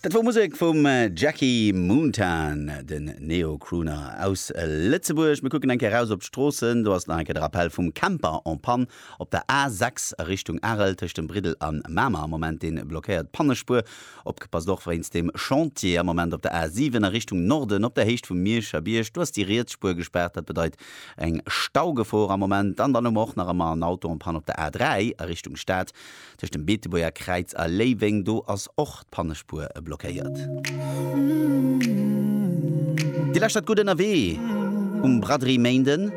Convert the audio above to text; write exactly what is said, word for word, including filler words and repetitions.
Dat wor Musek vum Jackie Moontan, den Neo-Crooner aus Lëtzebuerg. Mir kucken eng Kéier raus op d'Stroossen. Do ass nach eng Kéier de Rappel vum Camper en panne op der A sechs a Richtung Arel tëscht dem Briddel a Mamer am Moment. Dee blockéiert d'Pannespuer. Opgepasst och wéinst dem Chantier am Moment op der A siwen a Richtung Norden op der Héicht vum Mierscher Bierg. Do ass déi riets Spuer gespaart, dat bedeit eng Staugefor am Moment. An dann hu mer och nach ëmmer en Auto en panne op der A dräi a Richtung Stad tëscht dem Beetebuerger Kräiz a Léiweng. Do ass och d'Pannespuer blockéiert. Dir lauschtert Gutt ënnerwee um Braderie Méinden.